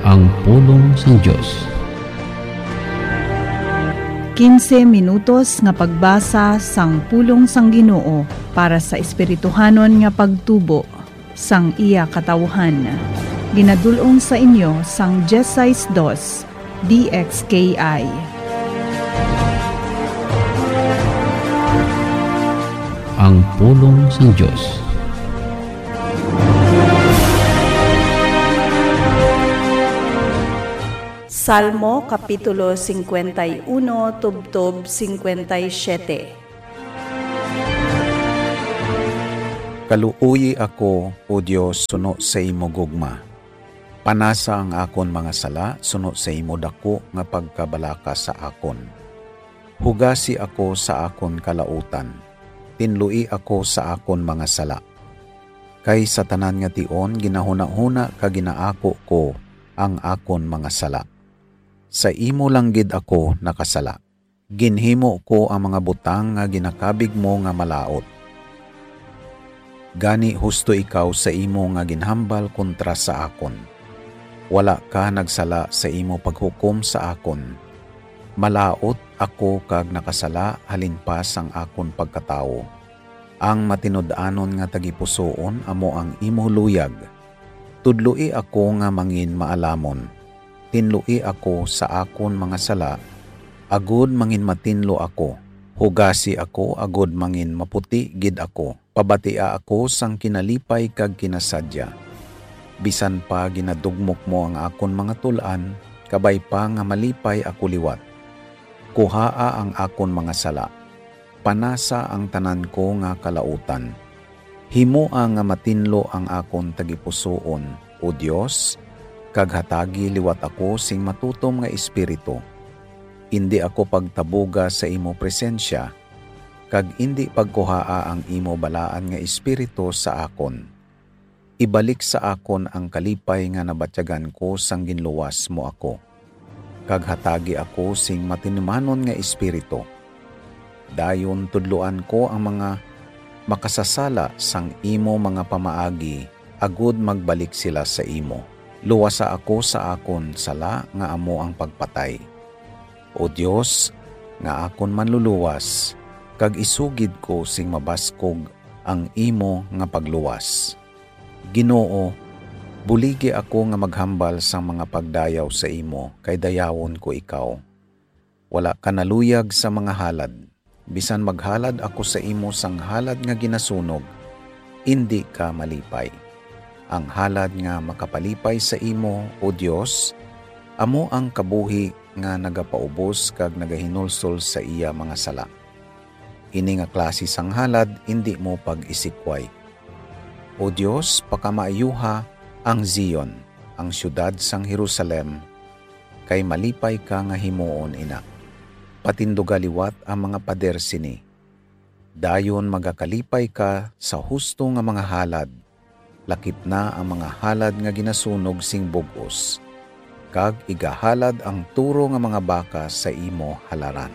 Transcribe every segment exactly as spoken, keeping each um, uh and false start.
Ang pulong sang Dios. Quince minutos nga pagbasa sang pulong sang Ginoo para sa espirituhanon nga pagtubo sang iya katawuhan. Ginadul-ong sa inyo sang dieciséis dos D X K I. Ang pulong sang Dios. Salmo Kapitulo cincuenta y uno, tubtob cincuenta y siete. Kaluoyi ako, O Dios, suno sa imo gugma. Panasa ang akon mga sala suno sa imo daku nga pagkabalaka sa akon. Hugasi ako sa akon kalautan, tinloi ako sa akon mga sala. Kay sa tanan nga tion ginahunahuna kag ginaako ko ang akon mga sala. Sa imo lang gid ako nakasala. Ginhimo ko ang mga butang nga ginakabig mo nga malaut. Gani, husto ikaw sa imo nga ginhambal kontra sa akon. Wala ka nagsala sa imo paghukom sa akon. Malaut ako kag nakasala halin pa sang akon pagkatawo. Ang matinud-anon nga tagipusoon amo ang imo luyag. Tudloi ako nga mangin maalamon. Tinloi ako sa akon mga sala, agud mangin matinlo ako. Hugasi ako, agud mangin maputi gid ako. Pabatia ako sang kinalipay kag kinasadya. Bisan pa ginadugmok mo ang akon mga tul-an, kabay pa nga malipay ako liwat. Kuhaa ang akon mga sala. Panasa ang tanan ko nga kalautan. Himoa nga matinlo ang akon tagipusoon, O Dios, kag hatagi liwat ako sing matutom nga espiritu. Indi ako pagtabuga sa imo presensya, kag indi pagkuhaa ang imo balaan nga espiritu sa akon. Ibalik sa akon ang kalipay nga nabatyagan ko sang ginluwas mo ako, kag hatagi ako sing matinumanon nga espiritu. Dayon tudloan ko ang mga makasasala sang imo mga pamaagi, agud magbalik sila sa imo. Luwasa ako sa akon sala nga amo ang pagpatay. O Dios, nga akon Manluluwas, kag isugid ko sing mabaskog ang imo nga pagluwas. Ginoo, buligi ako nga maghambal sang mga pagdayaw sa imo, kay dayawon ko ikaw. Wala ka naluyag sa mga halad. Bisan maghalad ako sa imo sang halad nga ginasunog, indi ka malipay. Ang halad nga makapalipay sa imo, O Dios, amo ang kabuhi nga nagapaubos kag nagahinulsol sa iya mga sala. Ini nga klase sang halad indi mo pag-isikway. O Dios, pakamaayuha ang Zion, ang siyudad sang Jerusalem, kay malipay ka nga himuon ina. Patinduga liwat ang mga pader sini. Dayon magakalipay ka sa husto nga mga halad, lakip na ang mga halad nga ginasunog sing bug-os, kag igahalad ang turo nga mga baka sa imo halaran.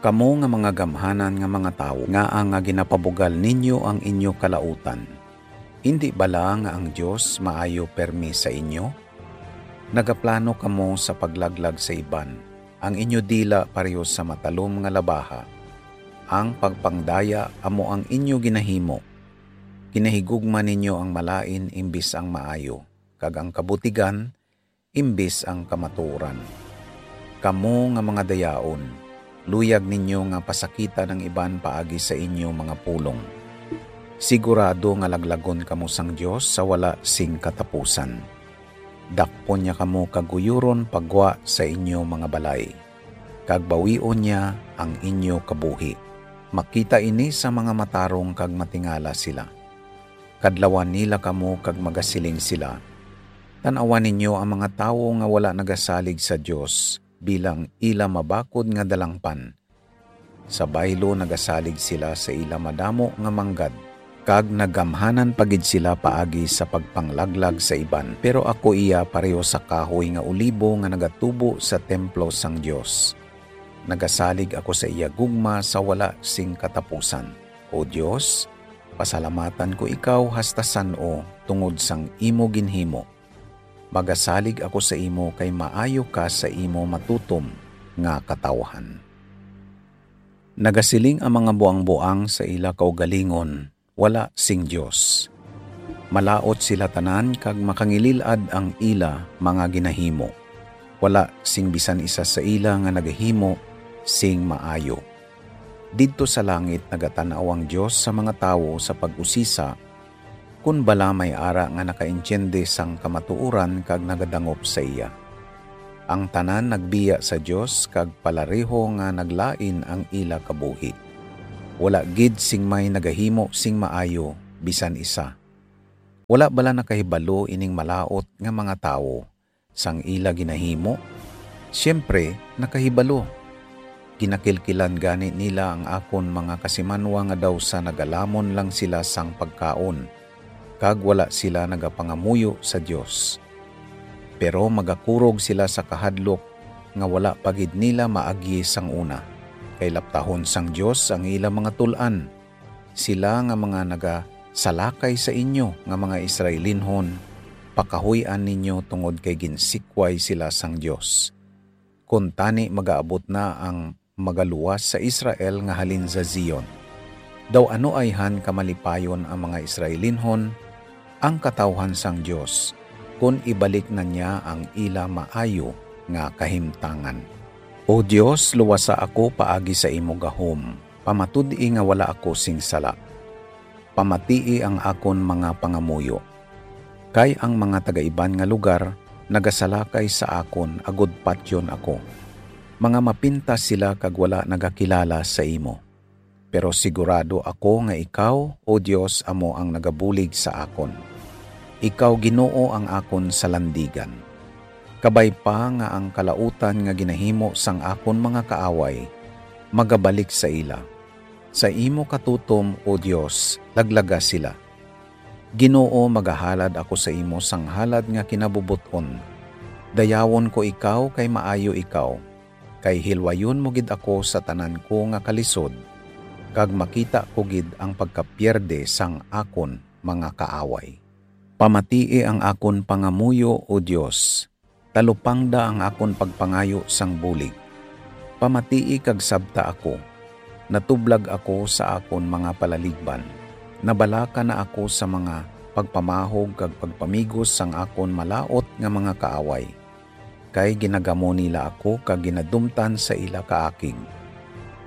Kamo nga mga gamhanan nga mga tawo, ngaa nga ginapabugal ninyo ang inyo kalautan? Indi bala nga ang Dios maayo permi sa inyo? Nagaplano kamo sa paglaglag sa iban. Ang inyo dila pareho sa matalom nga labaha. Ang pagpangdaya amo ang inyo ginahimo. Ginahigugma ninyo ang malain imbis ang maayo, kag ang kabutigan imbis ang kamatuoran. Kamo nga mga dayaon, luyag ninyo nga pasakitan ang iban paagi sa inyo mga pulong. Sigurado nga laglagon kamo sang Dios sa wala sing katapusan. Dakpon niya kamo kag guyuron pa gwa sa inyo mga balay, kag bawion niya ang inyo kabuhi. Makita ini sa mga matarong kag matingala sila. Kadlawan nila kamo kag magasiling sila, "Tan-awa ninyo ang mga tawo nga wala nagasalig sa Dios bilang ila mabakod nga dalangpan. Sa baylo nagasalig sila sa ila madamo nga manggad, kag nagamhanan pa gid sila paagi sa pagpanglaglag sa iban. Pero ako iya pareho sa kahoy nga olibo nga nagatubo sa templo sang Dios. Nagasalig ako sa iya gugma sa wala sing katapusan. O Dios, pasalamatan ko ikaw hasta san-o tungod sang imo ginhimo. Magasalig ako sa imo kay maayo ka sa imo matutom nga katawhan. Nagasiling ang mga buangboang sa ila kaugalingon, "Wala sing Dios." Malaut sila tanan kag makangilil-ad ang ila mga ginahimo. Wala sing bisan isa sa ila nga nagahimo sing maayo. Didto sa langit nagatan-aw ang Dios sa mga tawo sa pag-usisa, kon bala may ara nga nakaintiende sang kamatuoran kag nagadangop sa iya. Ang tanan nagbiya sa Dios kag palareho nga naglain ang ila kabuhi. Wala gid sing may nagahimo sing maayo, bisan isa. Wala bala nakahibalo ining malaut nga mga tawo sang ila ginahimo? Siyempre, nakahibalo. Ginakilkilan gani nila ang akon mga kasimanwa nga daw sa nagalamon lang sila sang pagkaon, kag wala sila nagapangamuyo sa Dios. Pero magakurog sila sa kahadlok nga wala pa gid nila maagi sang una, kay laptahon sang Dios ang ila mga tul-an. Sila nga mga nagasalakay sa inyo nga mga Israelinhon, pakahuy-an ninyo tungod kay ginsikway sila sang Dios. Kuntani magaabot na ang magaluwas sa Israel nga halin sa Zion. Daw ano ayhan kamalipayon ang mga Israelinhon, ang katawhan sang Dios, kon ibalik na niya ang ila maayo nga kahimtangan. O Dios, luwasa ako paagi sa imo gahom, pamatud-i nga wala ako sing sala. Pamatii ang akon mga pangamuyo. Kay ang mga taga-iban nga lugar nagasalakay sa akon agod patyon ako. Mga mapintas sila kag wala nagakilala sa imo. Pero sigurado ako nga ikaw, O Dios, amo ang nagabulig sa akon. Ikaw, Ginoo, ang akon salandigan. Kabay pa nga ang kalautan nga ginahimo sang akon mga kaaway magabalik sa ila. Sa imo katutom, O Dios, laglaga sila. Ginoo, magahalad ako sa imo sang halad nga kinabubot-on. Dayawon ko ikaw kay maayo ikaw, kay hilwayon mo gid ako sa tanan ko nga kalisod, kag makita ko gid ang pagkapierde sang akon mga kaaway. Pamatii ang akon pangamuyo, O Dios, talupangda ang akon pagpangayo sang bulig. Pamatii kag sabta ako. Natublag ako sa akon mga palaligban. Nabalaka na ako sa mga pagpamahog kag pagpamigos sang akon malaut nga mga kaaway. Kay ginagamo nila ako kag ginadumtan sa ila kaakig.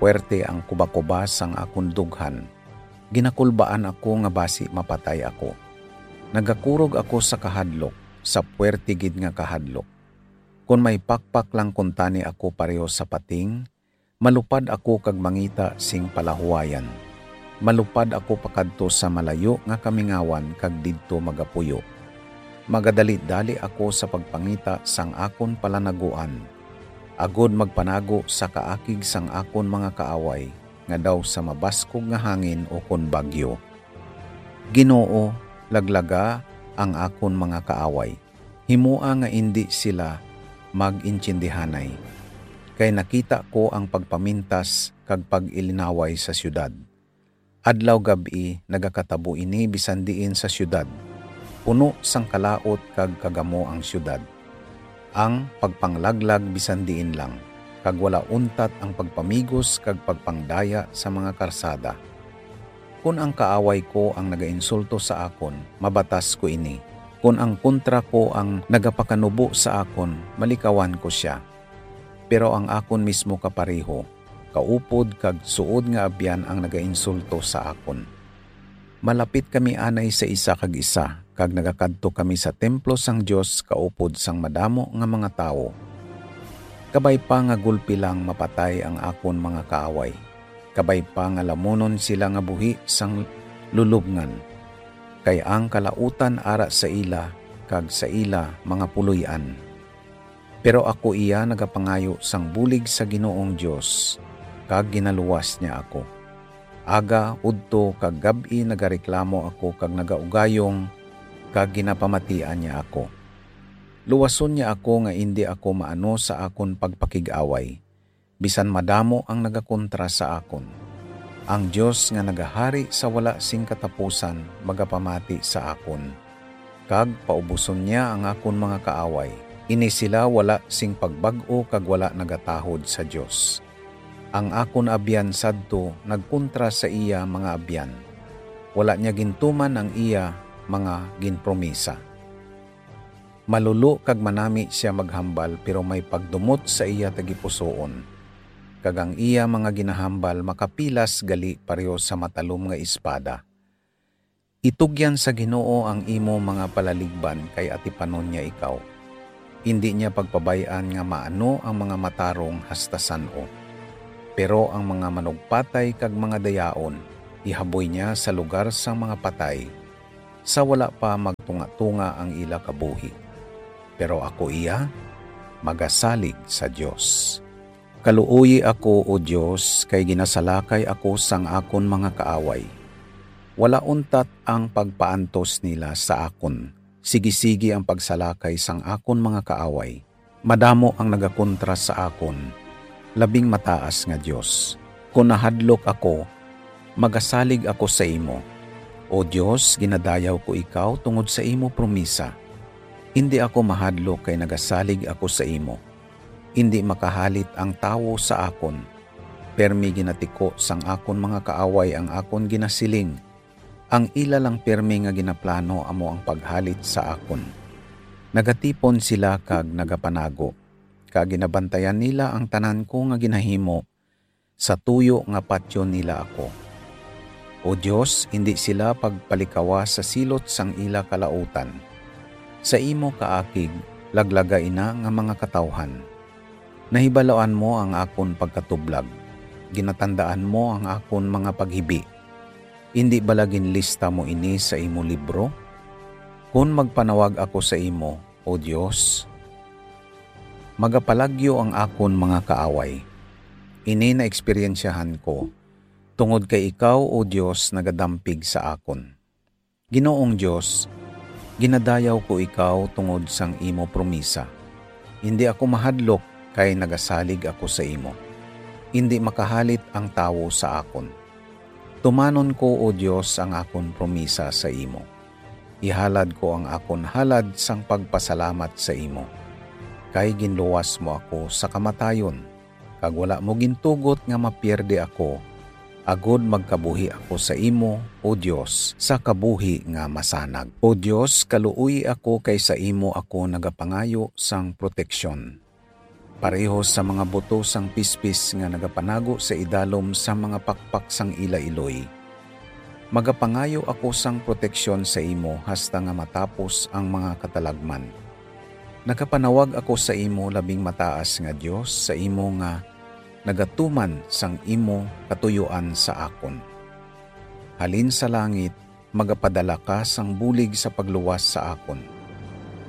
Puwerte ang kubakuba sang akon dughan. Ginakulbaan ako nga basi mapatay ako. Nagakurog ako sa kahadlok, sa puwerte gid nga kahadlok. Kon may pakpak lang kuntani ako pareho sa pating, malupad ako kag mangita sing palahuwayan. Malupad ako pakadto sa malayo nga kamingawan kag didto magapuyo. Magadali-dali ako sa pagpangita sang akon palanaguan, agod magpanago sa kaakig sang akon mga kaaway, nga daw sa mabaskog nga hangin ukon bagyo. Ginoo, laglaga ang akon mga kaaway. Himoa nga indi sila mag-intiendihanay, kay nakita ko ang pagpamintas kag pag-ilinaway sa siyudad. Adlaw-gab-i nagakatabo ini bisan diin sa siyudad. Puno sang kalaut kag kagamo ang siyudad. Ang pagpanglaglag bisan diin lang, kag wala untat ang pagpamigos kag pagpangdaya sa mga karsada. Kon ang kaaway ko ang nagainsulto sa akon, mabatas ko ini. Kon ang kontra ko ang nagapakanubo sa akon, malikawan ko sia. Pero ang akon mismo kapareho, kaupod kag suod nga abyan ang nagainsulto sa akon. Malapit kami anay sa isa kag isa, kag nagakadto kami sa templo sang Dios kaupod sang madamo nga mga tawo. Kabay pa nga gulpi lang mapatay ang akon mga kaaway, kabay pa nga lamunon sila nga buhi sang lulubngan, kay ang kalautan ara sa ila kag sa ila mga puloy-an. Pero ako iya nagapangayo sang bulig sa Ginoong Dios, kag ginaluwas niya ako. Aga, udto, kag gab-i nagareklamo ako kag nagaugayong, kag ginapamatian niya ako. Luwason niya ako nga indi ako maano sa akon pagpakig-away, bisan madamo ang nagakontra sa akon. Ang Dios nga nagahari sa wala sing katapusan magapamati sa akon, kag paubuson niya ang akon mga kaaway. Ini sila wala sing pagbag-o kag wala nagatahod sa Dios. Ang akon abyan sadto nagkontra sa iya mga abyan. Wala niya gintuman ang iya mga ginpromisa. Malulo kag manami sia maghambal, pero may pagdumot sa iya tagipusoon, kag ang iya mga ginahambal makapilas gali pareho sa matalom nga espada. Itugyan sa Ginoo ang imo mga palaligban, kay atipanon niya ikaw. Indi niya pagpabay-an nga maano ang mga matarong hasta san-o. Pero ang mga manugpatay kag mga dayaon, ihaboy niya sa lugar sang mga patay, sa wala pa magtunga-tunga ang ila kabuhi. Pero ako iya, magasalig sa Dios. Kaluoyi ako, O Dios, kay ginasalakay ako sang akon mga kaaway. Wala untat ang pagpaantos nila sa akon. Sigisigi ang pagsalakay sang akon mga kaaway. Madamo ang nagakontra sa akon, labing mataas nga Dios. Kon nahadlok ako, magasalig ako sa imo. O Dios, ginadayaw ko ikaw tungod sa imo promisa. Indi ako mahadlok kay nagasalig ako sa imo. Indi makahalit ang tawo sa akon. Permi ginatiko sang akon mga kaaway ang akon ginasiling. Ang ila lang pirme nga ginaplano amo ang paghalit sa akon. Nagatipon sila kag nagapanago, kag ginabantayan nila ang tanan ko nga ginahimo. Sa tuyo nga patyon nila ako. O Dios, indi sila pagpalikawa sa silot sang ila kalautan. Sa imo kaakig, laglaga ina nga mga katawhan. Nahibaloan mo ang akon pagkatublag, ginatandaan mo ang akon mga paghibi. Indi bala ginlista mo ini sa imo libro? Kon magpanawag ako sa imo, O Dios, magapalagyo ang akon mga kaaway. Ini naeksperyensyahan ko, tungod kay ikaw, O Dios, nagadampig sa akon. Ginoong Dios, ginadayaw ko ikaw tungod sang imo promisa. Indi ako mahadlok kay nagasalig ako sa imo. Indi makahalit ang tawo sa akon. Tumanon ko, O Dios, ang akon promisa sa imo. Ihalad ko ang akon halad sang pagpasalamat sa imo, kay ginluwas mo ako sa kamatayon, kag wala mo gintugot nga mapierde ako, agod magkabuhi ako sa imo, O Dios, sa kabuhi nga masanag. O Dios, kaluoyi ako, kay sa imo ako nagapangayo sang proteksyon. Pareho sa mga buto sang pispis nga nagapanago sa idalom sa mga pakpak sang ila iloy, magapangayo ako sang proteksyon sa imo hasta nga matapos ang mga katalagman. Nagapanawag ako sa imo, labing mataas nga Dios, sa imo nga nagatuman sang imo katuyoan sa akon. Halin sa langit, magapadala ka sang bulig sa pagluwas sa akon.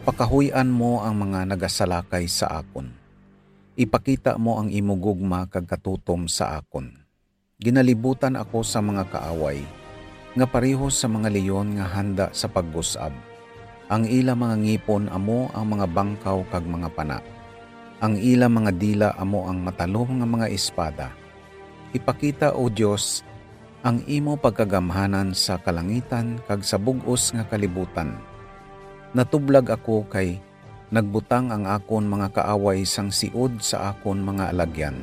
Pakahuy-an mo ang mga nagasalakay sa akon. Ipakita mo ang imo gugma kag katutom sa akon. Ginalibutan ako sa mga kaaway, nga pareho sa mga leon nga handa sa paggus-ab. Ang ila mga ngipon amo ang mga bangkaw kag mga pana. Ang ila mga dila amo ang matalom nga mga espada. Ipakita, O Dios, ang imo pagkagamhanan sa kalangitan kag sa bug-os nga kalibutan. Natublag ako kay nagbutang ang akon mga kaaway sang siod sa akon mga alagyan.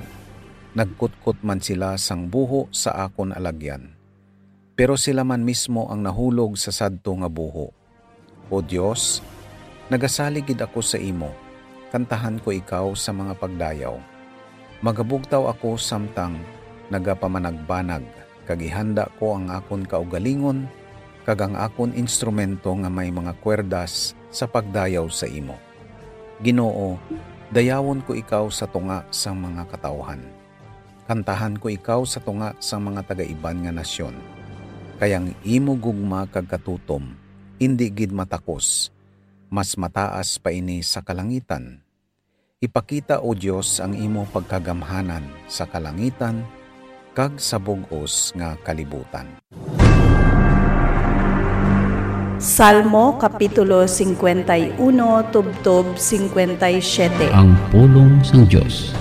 Nagkutkot man sila sang buho sa akon alagyan, pero sila man mismo ang nahulog sa sadto nga buho. O Dios, nagasalig gid ako sa imo, kantahan ko ikaw sa mga pagdayaw. Magabugtaw ako samtang nagapamanagbanag, kag ihanda ko ang akon kaugalingon kag ang akon instrumento nga may mga kwerdas sa pagdayaw sa imo. Ginoo, dayawon ko ikaw sa tunga sang mga katawuhan. Kantahan ko ikaw sa tunga sang mga taga-iban nga nasyon. Kay ang imo gugma kag katutom indi gid matakos, mas mataas pa ini sa kalangitan. Ipakita, O Dios, ang imo pagkagamhanan sa kalangitan kag sa bug-os nga kalibutan. Salmo Kapitulo cincuenta y uno, tubtob cincuenta y siete. Ang pulong sang Dios.